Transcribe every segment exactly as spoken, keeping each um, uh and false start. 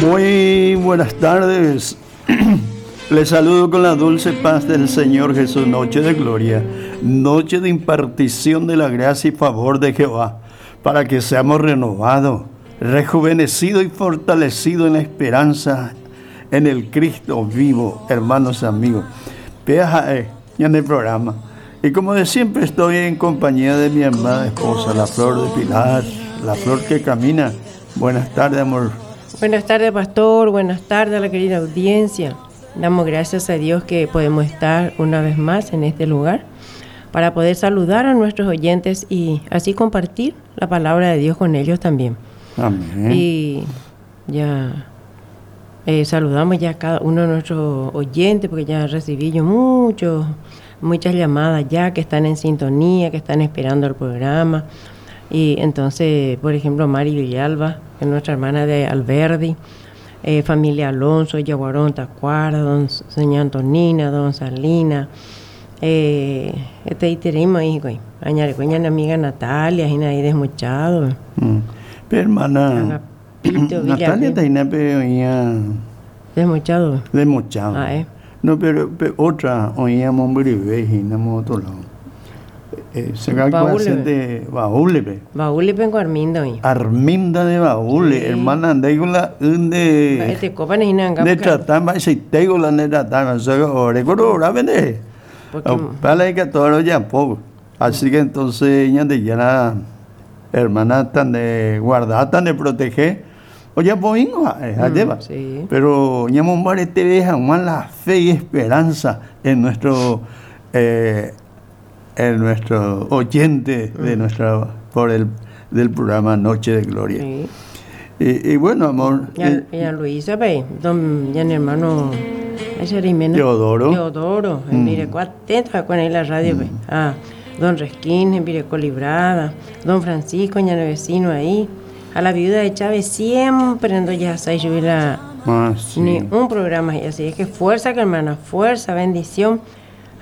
Muy buenas tardes. Les saludo con la dulce paz del Señor Jesús, noche de gloria, noche de impartición de la gracia y favor de Jehová, para que seamos renovados, rejuvenecidos y fortalecidos en la esperanza en el Cristo vivo, hermanos y amigos. Peaja en el programa. Y como de siempre estoy en compañía de mi amada esposa, la flor de Pilar, la flor que camina. Buenas tardes, amor. Buenas tardes, pastor. Buenas tardes a la querida audiencia. Damos gracias a Dios que podemos estar una vez más en este lugar para poder saludar a nuestros oyentes y así compartir la palabra de Dios con ellos también. Amén. Y ya eh, saludamos ya a cada uno de nuestros oyentes, porque ya recibí yo muchos, muchas llamadas ya que están en sintonía, que están esperando el programa. Y entonces, por ejemplo, Mari Villalba, que es nuestra hermana de Alberdi, eh, familia Alonso, Yaguarón, Tacuara, don Señora Antonina, don Salina, eh, este iterimo ahí, güey. Añare, amiga Natalia, y ahí desmochado. Mm. Pero hermana, Agapito, Natalia Villarreal. taina Desmochado. Desmochado. Ah, eh. No, pero, pero otra oíamos Mbribe y no otro lado. Eh, se Baúle. de Baúle, pe. Baúle penco Arminda hoy. Arminda de Baúle, Sí. hermana, andé con la de Este copa ni nanga. de tratar, va si tengo la de tratar, o sea, ore coro ora vende. Porque Para que todo ya poco. Así que entonces ya de ya la hermana tan de guardar, tan de proteger. Oye, pues Mm, lleva. sí. Pero ñamombare te deja más la fe y esperanza en nuestro eh, en nuestro oyente de Mm. nuestra por el del programa Noche de Gloria. Sí. Y, y bueno, amor, Ya, eh, ya Luisa, pe, don, ya mi hermano, ese era Jimena. Teodoro. Teodoro, en Mm. Vireco, atento con ahí la radio, pe. Ah, don Resquín, en Vireco Librada, don Francisco, ña vecino ahí. A la viuda de Chávez siempre ando ya seis la ah, sí. ni un programa y así es que fuerza, que hermana, fuerza, bendición.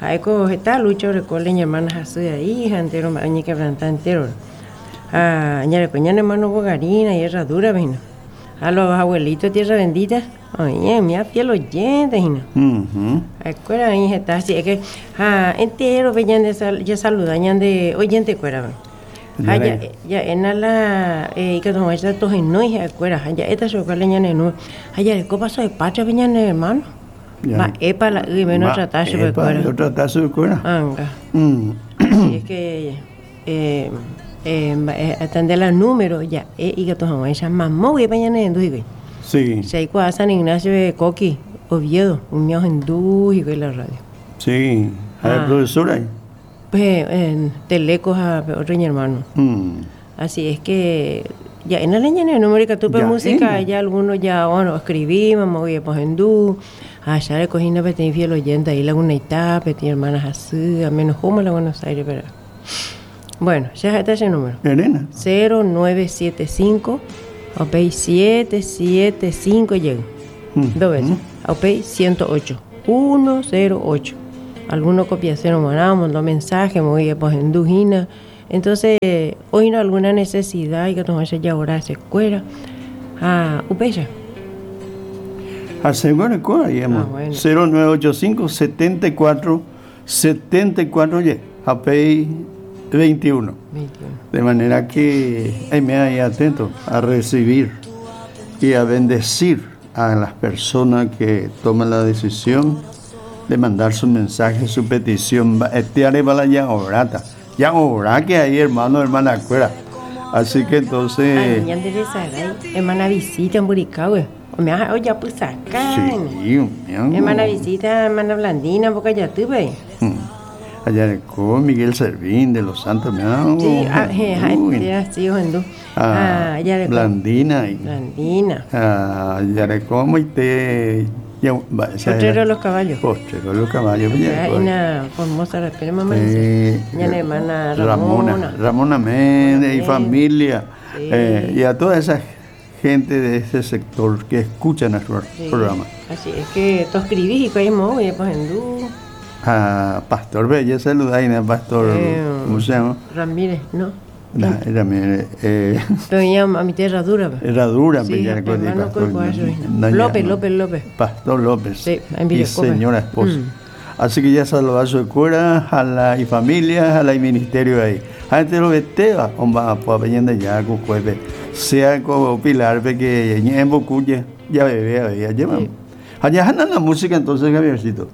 Aiko está lucho recole mi hermana así de ahí, hija entero, añi quebranta entero. Ah, ñare coña hermano Bogarina y herradura, vino. A los abuelitos tierra bendita. Oye, mi fiel oyente, hija. Ujú. Acuera ahí está así, es que ah, entero venían de sal, ya saludan de oyente cuera. Ya Ah, ya, le- ya en la eh que tomo esta toje no hija acuera, ya esta socale ñane no. Allá le copa soy patria venían hermano. Ya. Va epa la y menos Va, tratarse de epa, cuera. yo tratarse de cuera. Anga. Mm. Así es que eh eh eh, atender la número ya eh y que tomo esa mamó y pañane en duigue. Sí, Se hay San Ignacio de Coqui, Oviedo, un mío en y la radio. sí. A ver, Ah. profesora. ahí. Pues en Telecos a otro mi hermano. Mm. Así es que ya en la leña en el número que tuve Ya, música, en. ya algunos ya, bueno, escribimos, me voy a hindú, allá le cogí una petí fiel oyente ahí Laguna Itá, petí hermanas así, a menos como la Buenos Aires, pero bueno, ya está ese número. Elena. cero nueve siete cinco, O P siete siete cinco llega. Mm. Dos veces. O P ciento ocho. uno cero ocho. Alguno copia cero mandó, mandó mensaje, me voy a poner en dujina. Entonces, hoy no alguna necesidad y que tomarse ya ahora se cuera. Ah, upeya. Asegura cuál, digamos. Ah, bueno. cero nueve ocho cinco setenta y cuatro setenta y cuatro y A P veintiuno. veintiuno. De manera que ahí me ahí atento a recibir y a bendecir a las personas que toman la decisión de mandar su mensaje, su petición. Este areba ya obrata. Ya obra que hay hermano, hermana cuera. Así que entonces. Ay, ñande de Saray, hermana visita en Buricahue. O me ha oye, pues acá. Sí, mi Hermana visita, hermana Blandina, boca ya tuve. Mm. Allá de con Miguel Servín de los Santos, me ha- Sí, ah, je, ja, Uy. ya, sí, hindú. Ah, Ah, ya de Blandina y Blandina. ah, Yarecomo y te ya, va, esa Potrero era- de los caballos. Potrero de los caballos. pues, Ya, ya, una formosa la pena, mamá. eh, Ya la hermana Ramona. Ramona. Ramona Méndez y Méndez. familia. Sí. eh, y a toda esa gente de ese sector que escucha nuestro Sí. programa. Así es que tú escribís y que hay pues hindú. A Pastor Bella, saluda a Pastor, Eh, ¿cómo se llama? Ramírez, ¿no? También, eh, Pero ya a mi herradura. Herradura, sí, ya pastor, López, López, López. Pastor López. Sí, y señora esposa. Mm. Así que ya saludó a su escuela, a la y familia, a la y ministerio ahí. Gente lo veteva, homba, pues ya sea como Pilar, que en ya bebé, ya lleva. Allá la música entonces, Javiercito.